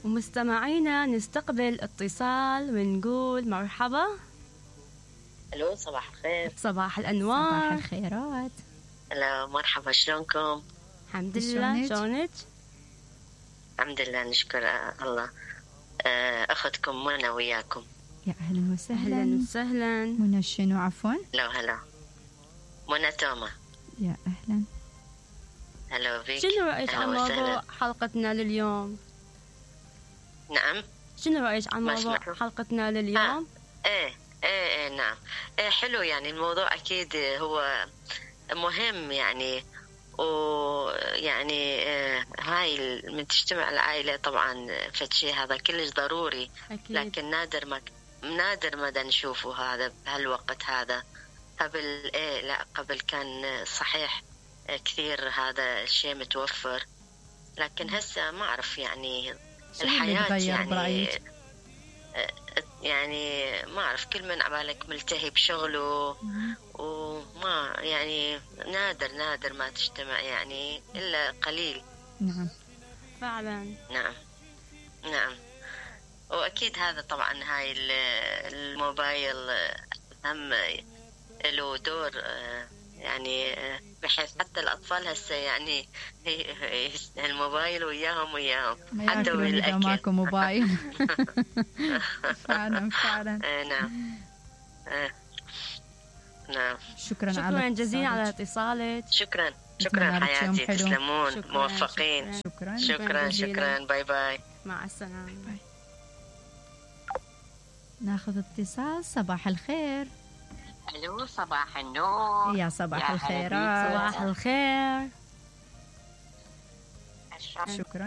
ومستمعينا نستقبل اتصال ونقول مرحبا. الو صباح الخير. صباح الأنوار. صباح الخيرات. هلا مرحبا، شلونكم؟ الحمد لله. شلونك؟ الحمد لله نشكر الله. أختكم منى وياكم. يا أهلا وسهلا. أهلا وسهلا. منى شنو عفوا؟ هلا منى توما. يا أهلا. هلا بك. شنو رأيك عن موضوع حلقتنا لليوم؟ نعم. شنو رأيك عن موضوع حلقتنا لليوم؟ ايه نعم. حلو، يعني الموضوع أكيد هو مهم، يعني ويعني هاي من تجتمع العائلة طبعا فشي هذا كلش ضروري. أكيد. لكن نادر ما نشوفه هذا بهالوقت هذا. قبل لا قبل كان صحيح كثير هذا الشيء متوفر، لكن هسه ما أعرف يعني الحياة يعني ما أعرف، كل من عبالك ملتهي بشغله وما يعني نادر ما تجتمع يعني إلا قليل. نعم فعلا. نعم. وأكيد هذا طبعا هاي الموبايل هم له دور، يعني بحيث حتى الأطفال هسه يعني الموبايل وياهم حتى بالأكل ماكو موبايل. فعلا. نعم. شكرا جزيلا على اتصالك. شكرا حياتي، تسلمون، موفقين. شكرا. باي مع السلامة. باي. ناخذ اتصال. صباح الخير. الو صباح النور. يا صباح الخير. صباح الخير. شكرا.